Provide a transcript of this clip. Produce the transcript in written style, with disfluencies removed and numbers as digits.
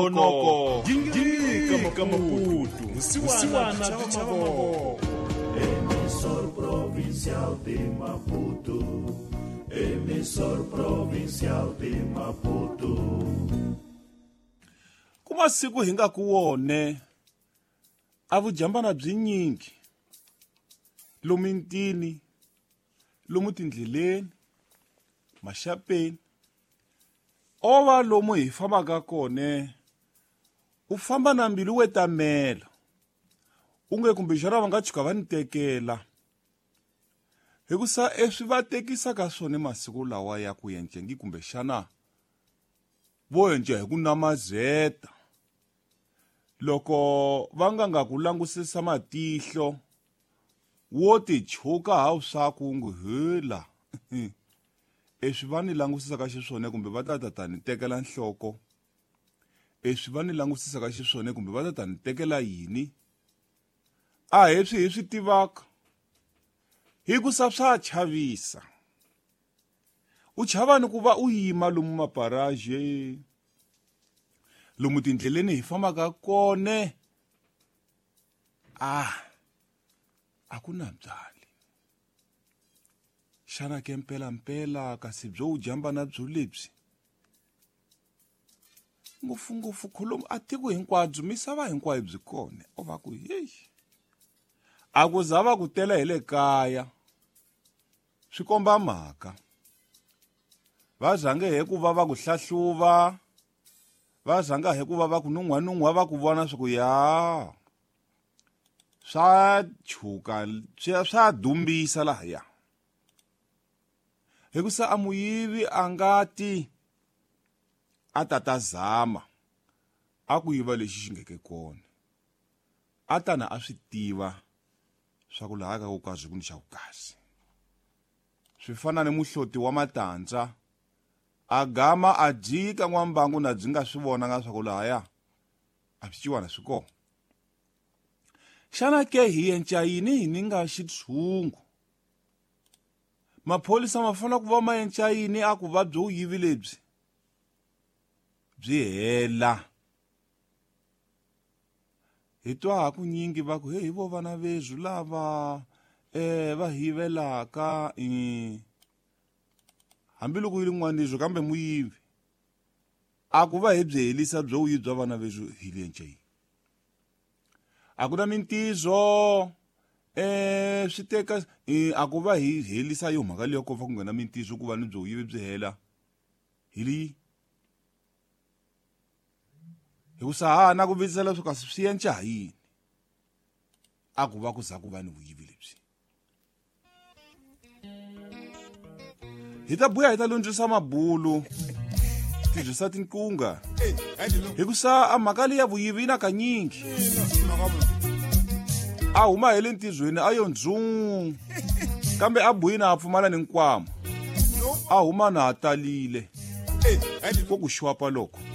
Nongonoko Gingirika Maputo Vusiwana byi chava mavoko. Emissor Provincial de Maputo. Emissor Provincial de Maputo. Ku masiku hi nga ku wone a vujambana byi nyingi lomu mitini, lomu tindleleni, maxapeni, o va lomu hi fambaka kone u famba na mbilu we tamela u nge kumbexana va nga tshuka va ni tekela hikusa eswi va tekisaka swona masiku lawa ya ku yencengi kumbexana vo yenca hi ku namazeta loko va nga nga ku langusisa matihlo wo ti chuka hawu swaku ngu hela eswi va ni langusisaka xiswona kumbe va ta ta ta ni tekela nhloko eswi va ni langusisaka xiswona kumbe va ta ta ni tekela yini a hi swi hi swi tivaka hikusa swa chavisa u chava ni ku va u yima lomu maparaje lomu tindleleni hi fambaka kone a a ku na byali xana ke mpelampela kasi byo wu jambana byo lebyi ngopfungopfu kholomu a tiko hinkwabyo misava hinkwayo byi kona o va ku heyi a ku za va ku tela hi le kaya swi komba mhaka va zange hi ku va va ku hlahluva va zanga hi ku va va ku nun'hwanun'hwa va ku vona swa ku ya swa chuka swa dumbisa lahaya hikusa a muyivi a nga ti a ta ta zama a ku yiva lexi xi ngeke kona a tana a swi tiva swa ku laha ka ku kazi ku ni xa ku kazi swi fana ni muhloti wa matandza a gama a jika n'wambangu na byi nga swi vonanga swa ku lahaya a swi ciwana swi kona xana ke hi yenca yini hi ni nga xitshungu mapholisa ma fanele ku va ma yenca yini a ku va byo yivi lebyi byi hela hi twa ha kunyingi va ku he hi vo vana vezwu lava va yivelaka hambiloko yi ri n'wanizwo kambe muyivi a ku va hi byi helisa byo wuyi bya vana vezwu hi lenca yini a ku na mintizo swi teka a ku va hi helisa yo mhaka leyo kova ku nghena mintizo ku va ni byo yivi byi hela hi leyi hikusa ha na ku vutisa leswaku kasi swi yenca ha yini a ku va ku za ku va ni vuyivi lebyi hi ta buya hi ta lundzisa mabulu tirhisa tinkunga hikusa a mhaka leyi ya vuyivi yi na kanyingi a huma hi le ntirhweni a yo ndzuu kambe a buyini a pfumala ni nkwama a huma na ha talile ko ku xwapa loko.